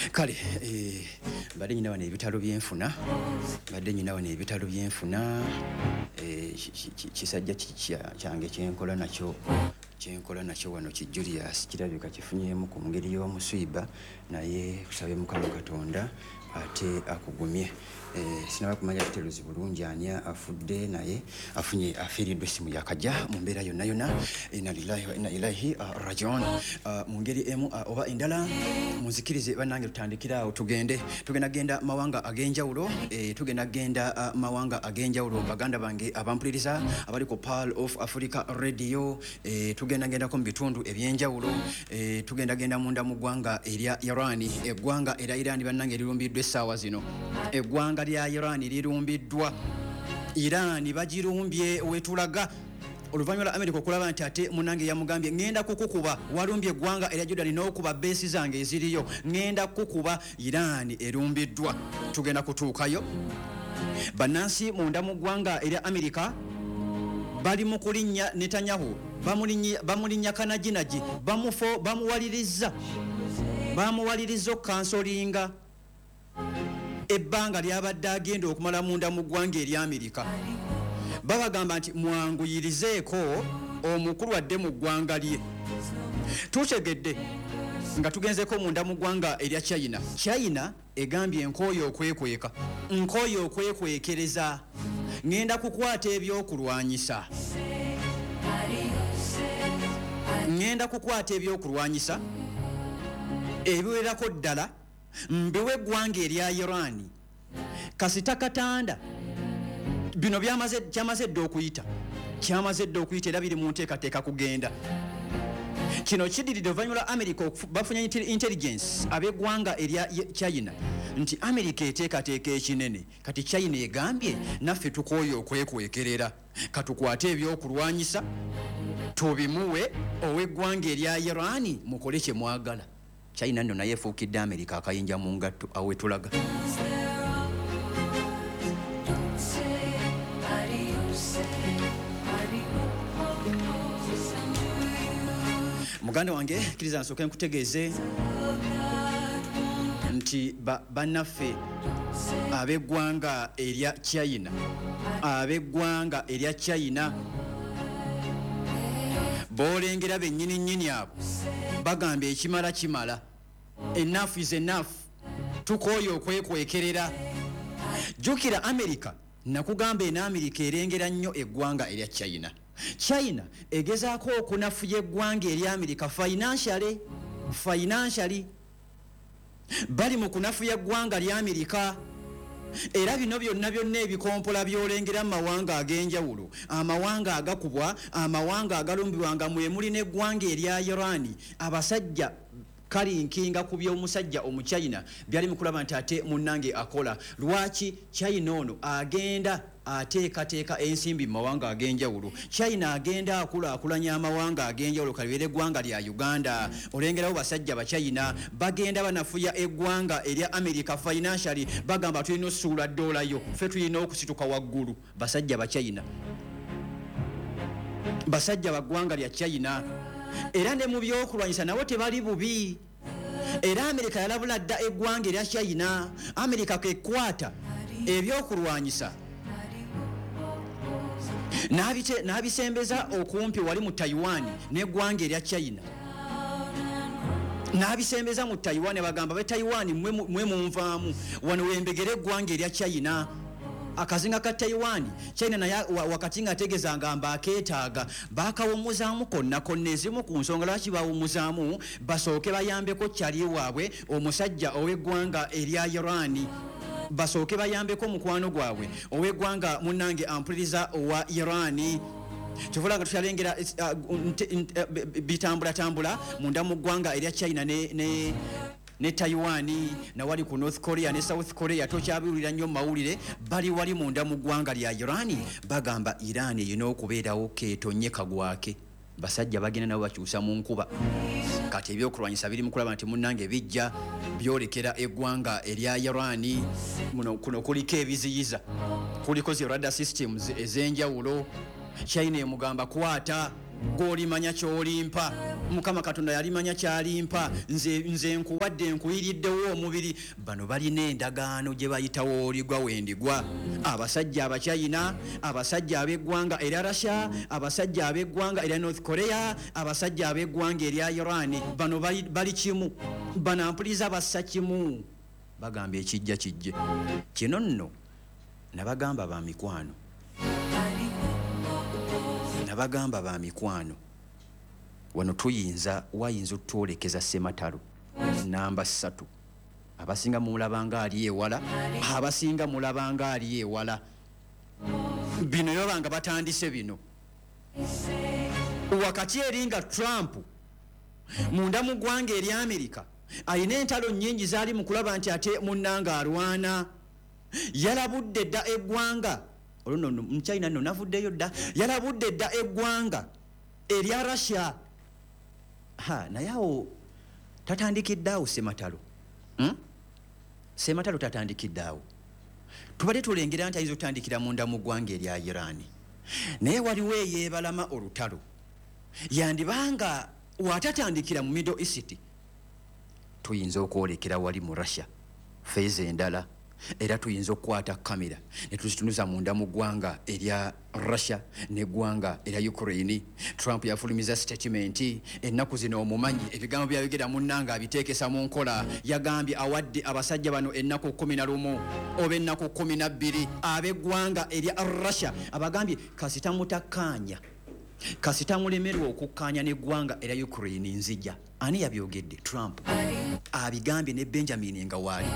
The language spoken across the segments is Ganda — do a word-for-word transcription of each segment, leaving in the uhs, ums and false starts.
Kale eh, mbadde nyina wano ebitalo byenfuna, mbadde nyina wano ebitalo byenfuna. eh, kisajja kyange kyenkola nakyo kyenkola nakyo wano ki Julius kirabika kifunyeemu ku ngeri y'omuswiba, naye kusabe Mukama Katonda ate akugumye. Eh, sinaba kumanya kiteruzi bulungi ani afudde, naye afunye afiiriddwa essimu yakajja mu mbeera yonna yonna. Inna lillahi wa inna ilaihi rajiun. Mu ngeri emu oba endala munzikirize bannange tutandikire awo, tugende tugenda genda mawanga ag'enjawulo, eh, tugenda genda mawanga ag'enjawulo. Baganda bange abampuliriza abali ku Pearl of Africa Radio, eh, tugenda gendako mu bitundu ebyenjawulo, eh, tugenda genda munda mu ggwanga erya Iran. Eggwanga erya Iran bannange lirumbiddwa essaawa zino, eggwanga lya Iran lirumbiddwa. Iran bagirumbye wetulaga oluvannyuma lwa America okulaba nti ate munnange yamugambye ŋŋenda kukukuba, walumbye eggwanga erya Jordan n'okuba beesi zange eziriyo, ŋŋenda kukukuba. Iran erumbiddwa, tugenda kutuukayo. Bannansi munda mu ggwanga erya America bali mu kulinnya Netanyahu, bamulinnya kanajinagi, bamufo bamuwaliriza bamuwaliriza okkansolinga ebbanga lyabadde agenda okumala munda mu ggwanga erya Amerika. Babagamba nti mwanguyirizeeko omukulu adde mu ggwanga lye. Tutegedde nga tugenzeko munda mu ggwanga erya China. China egambye nkooye okwekweka, nkooye okwekwekereza, ŋŋenda kukwata ebyokulwanyisa, ŋŋenda kukwata ebyokulwanyisa ebiwerako ddala mbiwe eggwanga erya Iran. Kasita katanda bino byamaze kyamaze dda okuyita, kyamaze dda okuyita era biri mu nteekateeka kugenda. Kino kiddiridde oluvannyuma lwa America bafunye intelligence ab'eggwanga erya China nti America eteekateeka ekinene. Kati China egambye naffe tukooye okwekwekerera, katukwate ebyokulwanyisa tubimuwe ow'eggwanga erya Iran, mukole kye mwagala. China nno naye efuukidde America akayinja mu ngatto awo wetulaga. Muganda wange kkiriza nsooke nkutegeeze nti bannaffe ab'eggwanga erya China, ab'eggwanga erya China boolengera bennyini nnyini abo bagamba ekimala kimala, enough is enough, tukooye okwekwekerera. Jjukira America, nakugamba eno America erengera nnyo eggwanga erya China. China egezaako okunafuya eggwanga erya America financially, financially bali mu kunafuya eggwanga lya America. Era bino byonna byonna ebikompola by'olengera mu mawanga ag'enjawulo, amawanga agakubwa, amawanga agalumbibwa nga mwe muli n'eggwanga erya Iran, abasajja kalinkinga ku by'omusajja omuchina byali mukulaba nti ate munnange akola. Lwaki China ono agenda ateekateeka ensimbi mu mawanga ag'enjawulo? China agenda akulaakulanya amawanga ag'enjawulo, kalibeere eggwanga lya Uganda. Olengerawo basajja Bachina bagenda banafuya eggwanga erya America financially, bagamba tulina ossuula ddoola yo, ffe tulina okusituka waggulu. Basajja Bachina, basajja ba ggwanga lya China, era ne mu byokulwanyisa nabo tebali bubi. Era America yalabula dda eggwanga erya China. America kekwata ebyokulwanyisa n'abisembeza okumpi wali mu Taiwan n'eggwanga erya China, n'abisembeza mu Taiwan. Bagamba be Taiwan mwe munvaamu wano wembegere eggwanga erya China. Akazinga ka Taiwan China naye wakati nga ategeeza ngamba akeetaaga bakawummuzaamu konna konna. Ezimu ku nsonga lwaki bawummuzaamu, basooke bayambeko kyali waabwe omusajja ow'eggwanga erya Iran, basooke bayambeko mukwano gwabwe ow'eggwanga munnange ampuliriza owa Iran. Kyovula nga tukyalengera bitambulatambula munda mu ggwanga erya China ne, ne ne Taiwan, nawali ku North Korea ne South Korea tokyabiwulira nnyo mu mawulire. Bali wali munda mu ggwanga lya Iran, bagamba Iran erina okubeerawo keetonye kagwake. Basajja bagenda nabo bakyusa mu nkuba. Kati ebyokulwanyisa biri mu kulaba nti munnange bijja byolekera eggwanga erya Iran. Muno kuno kuliko ebiziyiza, kuliko zi radar systems ez'enjawulo. China emugamba kwata Gwolimanya kyolimpa, Mukama Katonda yalimanya kyalimpa. Nze, nze nkuwadde, nkuyiriddewo omubiri. Bano balina endagaano gye bayitawo oligwa wendigwa. Abasajja Abachina, abasajja ab'eggwanga erya Russia, abasajja ab'eggwanga erya North Korea, abasajja ab'eggwanga erya Iran, bano bali, bali kimu. Bano ampuliza bassa kimu, bagamba ekijja kijje. Kino nno nabagamba ba mikwano, nabagamba ba mikwano, wano tuyinza wayinza otwolekeza ssematalo namba ssatu. Abasinga mulabanga ali ewala, abasinga mulabanga ali ewala. Bino yobanga batandise bino wakati eri nga Trump munda mu ggwanga erya Amerika alina entalo nnyingi zaali mu kulaba nti ate munnanga alwana. Yalabudde dda eggwanga olwo nno Muchina nno navuddeyo dda, yalabudde dda eggwanga erya Russia. Ha, naye awo tatandikidde awo ssematalo, hmm? Ssematalo tatandikidde awo. Tubadde tulengera nti ayinza okutandikira munda mu ggwanga erya Iran, naye waliwo eyeebalama olutalo. Yandibanga watatandikira mu Middle East, tuyinza okwolekera wali mu Russia feeza endala. Era tuyinza okukwata kamera ne tuzitunuza munda mu ggwanga erya Russia n'eggwanga erya Ukraine. Trump yafulumiza statement ennaku zino, omumanyi ebigambo byayogera munnanga abiteekesa mu nkola. Yagambye awadde abasajja bano ennaku kkumi na lumu oba ennaku kkumi na bbiri ab'eggwanga erya Russia. Abagambye kasita mutakkaanya, kasita mulemerwa okukkaanya n'eggwanga erya Ukraine, nzija. Ani yabyogedde? Trump abigambye ne Benjamin nga waali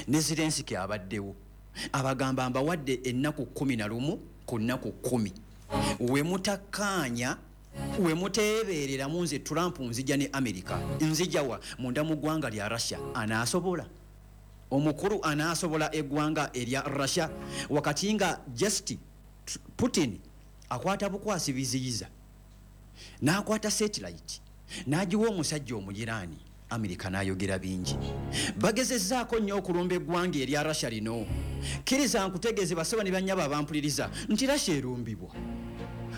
ne Zelensky abaddewo. Abagamba mbawadde ennaku kkumi na lumu ku nnaku kkumi, we mutakkaanya, we muteebereramu, nze Trump nzija ne America. Nzija wa? Munda mu ggwanga lya Russia. Anaasobola omukulu, anaasobola eggwanga erya Russia wakati nga just Putin akwata bukwasi biziyiza, n'akwata satellite n'agiwa omusajja Omuyiraani. Amerika n'ayogera bingi, bagezezzaako nnyo okulumba eggwanga erya Russia lino. Kkiriza nkutegeeze basebo ne bannyabo abampuliriza nti Russia erumbibwa,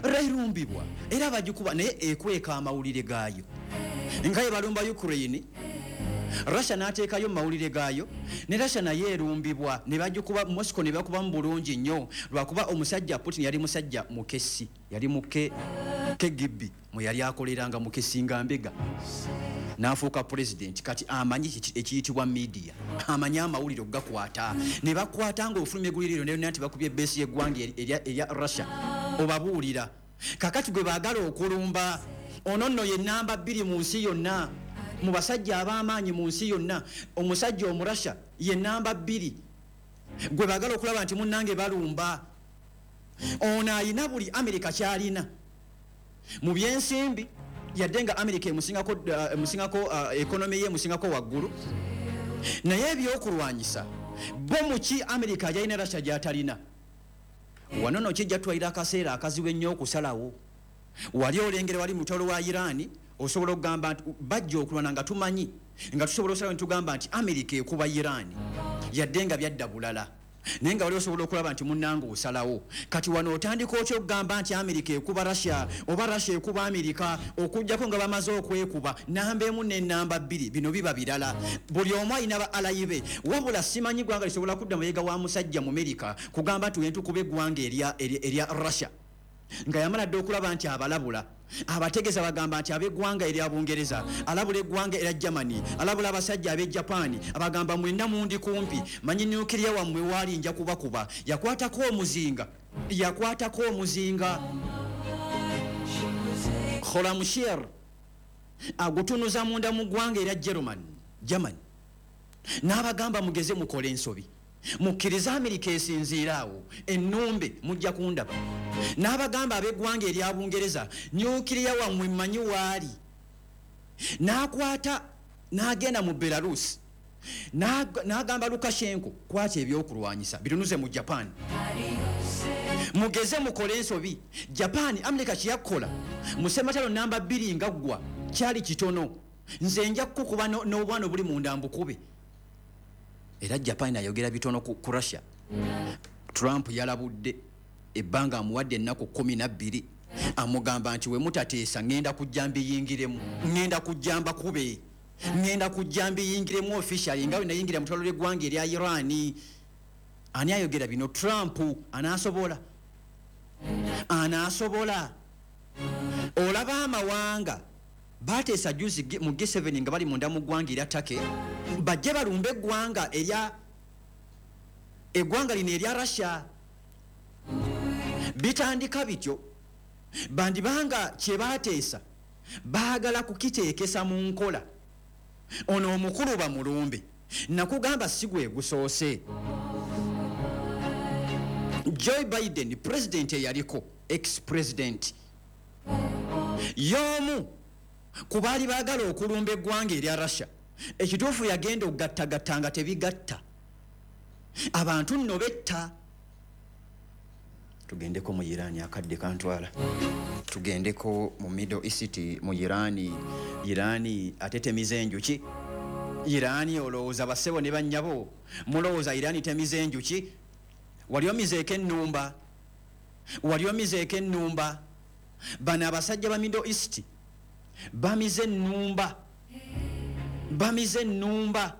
erumbibwa era bagikuba, naye ekweka amawulire gaayo. Nga ye balumba Ukraine, Russia n'ateekayo mu mawulire gaayo. Ne Russia naye erumbibwa ne bagikuba Moscow, ne bakubamu bulungi nnyo, lwakuba omusajja Putin yali musajja mukessi, yali muke K G B mwe yali akoleranga, mukessi nga mbega, n'afuuka president. Kati amanyi ekiyitibwa media, amanyi amawulire okugakwata. Ne bakwata ng'ofulumya eggulire lyonna nti bakubye base y'eggwanga erya Russia, obabuulira. Kakati gwe baagala okulumba ono nno ye namba bbiri mu nsi yonna, mu basajja ab'amaanyi mu nsi yonna. Omusajja Omurasha ye namba bbiri gwe baagala okulaba nti munnange balumba. Ono ayina buli Amerika kyalina mu byensimbi, yadde nga Amerika emusingako, uh, emusingako uh, economy ye emusingako waggulu, naye ebyokulwanyisa bo muki Amerika gyalina Russia gy'atalina. Wano no kijja twalira akaseera akazibu ennyo okusalawo. Wali olengera wali mutalo wa Iran, osobola okugamba nti bajja okulwana nga tumanyi, nga tusobola osalawo ntugamba nti Amerika ekuba Iran, yadde nga byadda bulala, naye nga wali osobola okulaba nti munnanga osalawo. Kati wano otandika otya okugamba nti Amerika ekuba Russia oba Russia ekuba Amerika, okugjako nga bamaze okwekuba namba emu n'enamba bbiri? Bino biba birala, buli omu alina ba ally be. Wabula simanyi ggwanga lisobola kudda mabega wa musajja mu Amerika kugamba nti wentukuba eggwanga erya, erya, erya Russia, nga yamala dde okulaba nti abalabula, abategeeza, bagamba nti ab'eggwanga erya Bungereza, alabula eggwanga erya Germany, alabula abasajja ab'e Japan, abagamba mwenna mundi kumpi, manyi nuclear wammwe waali, nja kubakuba. Yakwatako omuzinga, yakwatako omuzinga Khorramshahr, agutunuza munda mu ggwanga erya German Germany, n'abagamba mugeze mukole ensobi, mukkirize Amerika esinziira awo ennumbe, mujja kundaba. N'abagamba ab'eggwanga erya Bungereza, nuclear wammwe mmanyi waali. N'akwata n'agenda mu Belarus, n'agamba Lukashenko, kwata ebyokulwanyisa bitunuze mu Japan, mugeze mukole ensobi. Japan, Amerika kyeyakola mu sematalo namba bbiri nga ggwa kyali kitono, nze nja kukukuba n'obwana obuli munda mbukube. Era Japan ayogera bitono ku, ku Russia. Trump yalabudde ebbanga amuwadde ennaku kumi na bbiri. Amugamba nti wemutateesa ngenda kujja mbiyingiremu, ngenda kujja mbakube, ngenda kujja mbiyingiremu officially nga nayingira mu ttwalo ly'eggwanga erya Iran. Ani ayogera bino? Trump. Anaasobola? Anaasobola? Olaba amawanga bateesa juzi mu G seven nga bali munda mu ggwanga erya Turkey, bajje balumbe eggwanga erya eggwanga lino erya Russia. Bitandika bityo, bandibanga kye bateesa baagala kukiteekesa mu nkola. Ono omukulu bamulumbe, nakugamba si gwe gusoose. Joe Biden, president eyaliko ex-president, y'omu ku baali baagala okulumba eggwanga erya Russia. Ekituufu yagenda okugattagatta nga tebigatta, abantu nno betta. Tugendeko mu Iran, akadde kantwala. Tugendeko mu Middle East, mu Iran. Iran atetemiza enjuki. Iran olowooza bassebo ne bannyabo mulowooza Iran temiza enjuki? Wali omizeeko ennumba? Wali omizeeko ennumba? Bano abasajja ba Middle East bamize ennumba, bamize ennumba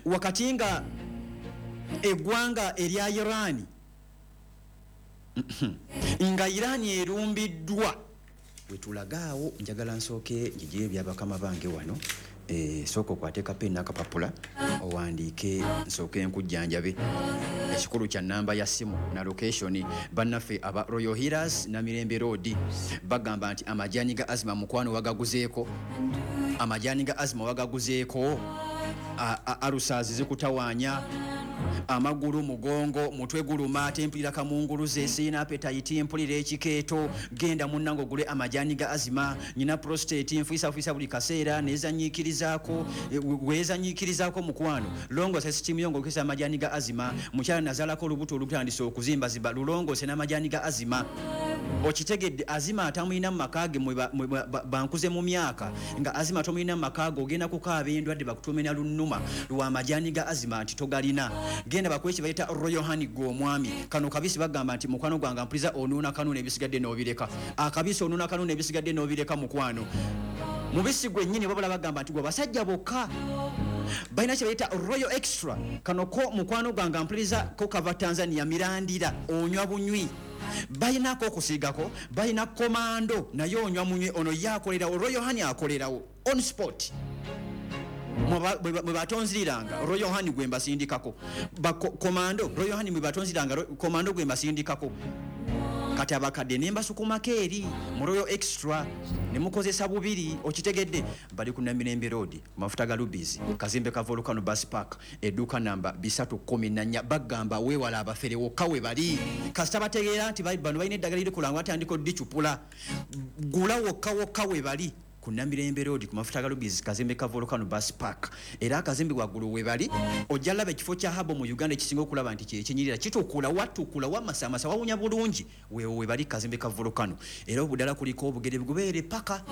wakati nga eggwanga erya Iran, nga Iran erumbiddwa. Wetulagaawo njagala nsooke njigiye ebyabakama bange wano. E, sooka okwate kapeni n'akapapula owandiike, nsooke nkujjanjabe. Ekikulu kya namba ya ssimu na location. Bannaffe aba Royal Healers Namirembe Road bagamba nti amajaani ga Azima mukwano wagaguzeeko, amajaani ga Azima wagaguzeeko, alusaazi zikutawaanya, amagulu, mugongo, mutwe guluma, ate mpulira kamunguluze, sirina appetite, mpulira ekikeeto. Genda munnange ogule amajaani ga Azima. Nyina prostate, nfuisafuisa buli kaseera, nezanyiikirizaako, weezanyiikirizaako mukwano. Longoosa sisitimu yo ng'okozesa amajaani ga Azima. Mukyala nazaalako olubuto olutandise okuzimbazimba, lulongoose n'amajaani ga Azima. Okitegedde? Azima atamulina mu maka ge, bankuze mu myaka nga Azima tomulina mu maka ge, ogenda kukaaba endwadde bakutume na lunnuma lwa majaani ga Azima nti togalina. Genda bakuwe kye bayita Royal Honey gwe omwami. Kano kabisi bagamba nti mukwano gwange mpuliza onuuna kanuuna ebisigadde n'obireka. Akabisi onuuna kanuuna ebisigadde n'obireka mukwano. Mubisi gwennyini wabula bagamba nti gwe basajja bokka. Balina kye bayita Royal Extra. Kano ko mukwano gwange mpuliza ko kava Tanzania, mirandira, onywa bunywi. Balinako okusiigako, balina komando naye onywa munywi. Ono ye akolerawo, Royal Honey akolerawo on spot. Mwe batonziriranga Royal Honey gwe mbasindikako, komando Royal Honey mwe batonziriranga komando gwe mbasindikako. Kati abakadde ne mbasukumako eri mu Royal Extra ne mukozesa bubiri. Okitegedde? Bali ku Namirembe Road, mafuta ga Lubizi, kazimbe ka Volcano Bus Park, edduuka namba bisatu kumi na nnya. Bagamba weewala abafere wokka we bali. Kasita bategeera nti bano balina eddagala liri kulangwa, atandika oddicupula. Gula wokka wokka we bali ku Namirembe Road, ku mafuta ga Lubizi, kazimbe ka Volcano Bus Park, era akazimbe waggulu we bali. Ojja laba ekifo kya habo mu Uganda ekisinga okulaba nti kyekinyirira, kitukula, watukula, wamasamasa, wawunya bulungi. Weewo we bali, kazimbe ka Volcano, era obuddala kuliko obugere bugubeere paka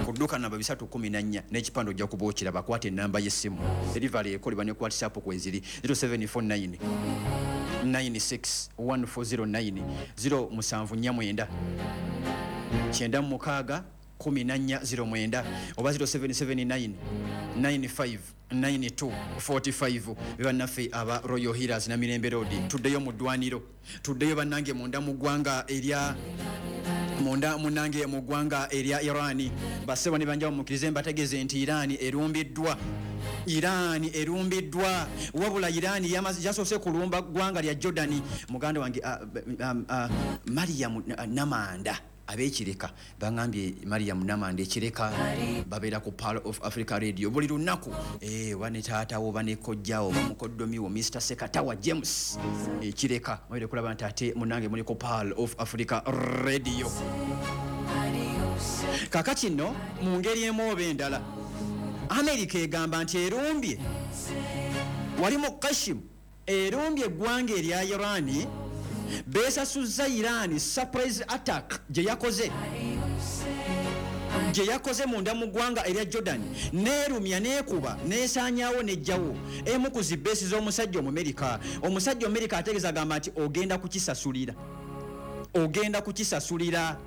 ku dduuka namba bisatu kumi na nnya n'ekipande ojja kuba okiraba. Kwata ennamba y'essimu, delivery ekolebwa ne ku WhatsApp kweziri zero seven four nine nine six one four zero nine, zero musanvu nnya mwenda kyenda mukaaga kumi na nnya zero mwenda oba zero seven seven nine nine five nine two forty five. Bannaffe aba Royal Healers Namirembe Road, tuddeyo mu ddwaniro, tuddeyo bannange munda mu ggwanga erya munda munnange mu ggwanga erya Iran. Bassebo ne banjawo mukkirize mbategeeze nti Iran erumbiddwa. Iran erumbiddwa. Wabula Iran yasoose kulumba ggwanga lya Jordan. Muganda wange Mariam Namanda ab'ekireka bangambye, Mariam Namanda ekireka babeera ku Pearl of Africa Radio buli lunaku. Eh, oba ne taatawo oba ne kojjawo oba mukoddomiwo Mister Sekatawa James ekireka, mwere kulaba nti ate munnange muli ku Pearl of Africa Radio. Kakati nno mu ngeri emu oba endala Amerika egamba nti erumbye wali mu Kashim, erumbye eggwanga erya Iran. Beesasuzza Iran surprise attack gye yakoze gye yakoze munda mu ggwanga erya Jordan, neerumya neekuba neesaanyaawo nejjawo emu ku zibeesi z'omusajja Omumerika. Omusajja Omumerika ategeeza agamba nti ogenda kukisasulira. Ogenda kukisasulira.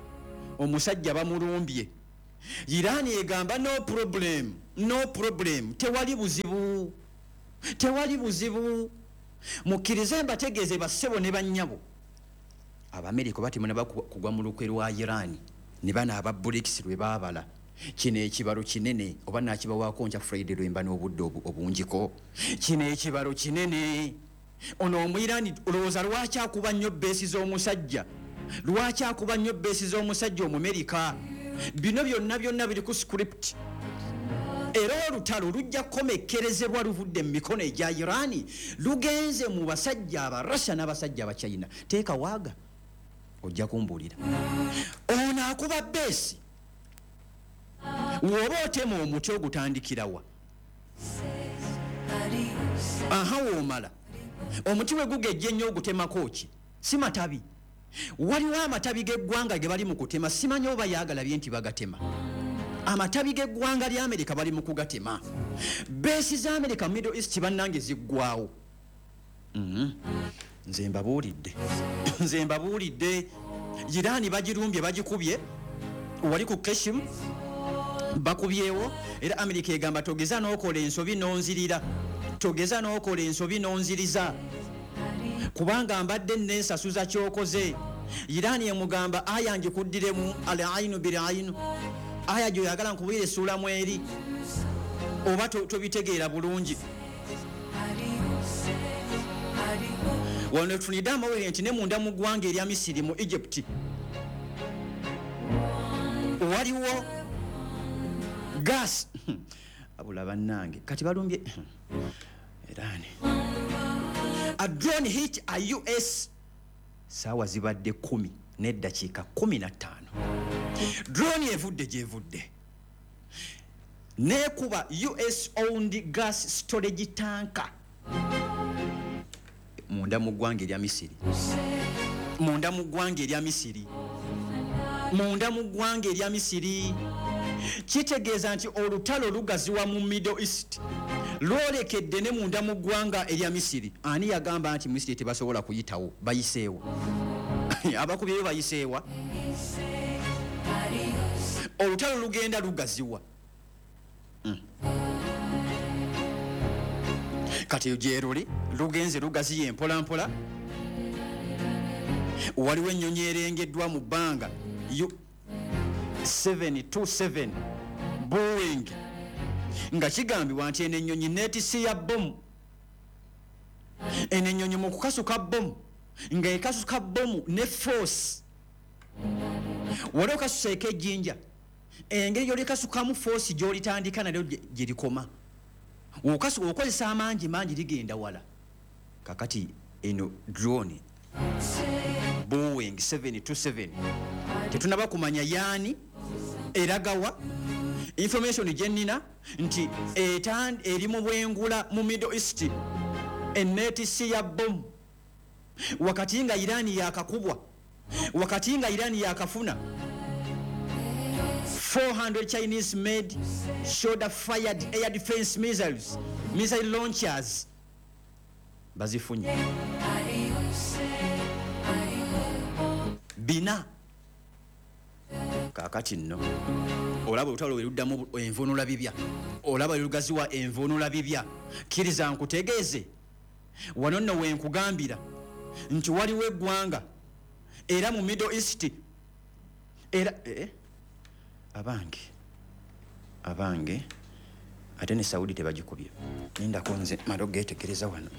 Omusajja bamulumbye. Irani egamba, "No problem, no problem, tewali buzibu, tewali buzibu." Mukkirize mbategeeze, bassebo ne bannyabo, Abamerika batimuna kugwa mu lukwe lwa Irani ne bano aba BRICS lwe baabala. Kino ekibalo kinene, oba nakibawaako nkya Friday lwemba n'obudde obungiko. Kino ekibalo kinene. Ono Omwirani olowooza lwaki akuba nnyo base z'omusajja? Lwaki akuba nnyo base z'omusajja Omumerika? Bino byonna byonna biri ku script, era olutalo lujja kukomekkerezebwa luvudde mu mikono egya Irani, lugenze mu basajja Abarussia n'abasajja Abachina. Teeka waaga ojja kumbuulira. Ono akuba base. Woba otema omuti, ogutandikirawa? Aha, woomala omuti we gugejja ennyo, ogutemako ki? Si matabi? Waliwo amatabi g'eggwanga ge bali mu kutema. Simanyi oba yaagalabye nti bagatema. Amatabi g'eggwanga lya Amerika bali mu kugatema. Base za Amerika Middle East, bannange, ziggwawo. Mhm. Nze mbabuulidde, nze mbabuulidde. Iraani bagirumbye, bagikubye wali ku Keshim, bakubyewo. Era Amerika egamba, "Togeza n'okola ensobi n'onzirira, togeza n'okola ensobi n'onziriza, kubanga mbadde nensasuza kyokoze." Iraani emugamba, "Aya ngikuddiremu, al ainu bil ainu." Aya gyoyagala nkubwira essuulamu eri oba tobitegeera bulungi. Wano tufunidde amawulire nti ne munda mu ggwanga erya Misiri, mu Egypt, waliwo gas abula. Bannange, kati balumbye Irani. A drone hit a U S. Saawa zibadde kumi n'eddakiika kumi na ttaano. Drone evudde gyevudde nekuba U S owned gas storage tanker munda mu ggwanga erya Misiri, munda mu ggwanga erya Misiri, munda mu ggwanga erya Misiri. Kitegeeza nti olutalo lugaziwa mu Middle East, lwolekedde ne munda mu ggwanga erya Misiri. Ani yagamba nti Misiri tebasobola kuyitawo? Bayiseewa. Abakubyeyo bayiseewa. Olutalo lugenda lugaziwa. mm. Kati gyeruli lugenze lugaziye mpolampola. Waliwo ennyonyi erengeddwa mu bbanga, seven two seven Boeing, nga kigambibwa nti eno ennyonyi neetisi ya bomu. Eno ennyonyi mu kukasuka bomu, nga ekasuka bomu ne force. Wali okasuseeko ejjinja, engeri gyolikasukamu, force gyolitandika nalyo gyerikoma. Okozesa amangi mangi, ligenda wala. Kakati eno drone Boeing seven two seven tetunaba kumanya yaani eragawa. Information gyenina nti eri mu bwengula mu Middle East, enetisi ya bomu, wakati nga Irani yakakubwa, wakati nga Irani yakafuna four hundred Chinese made shoulder fired air defense missiles, missile launchers, bazifunye bina. Kakati nno olaba olutalo weruddamu envunula bibya, olaba lugaziwa envunula bibya. Kkiriza nkutegeeze wano nno wenkugambira nti waliwo eggwanga era mu Middle East era eh, abange abange, ate ne Saudi tebagikubye. Nindako nze mala ogetegereza wano.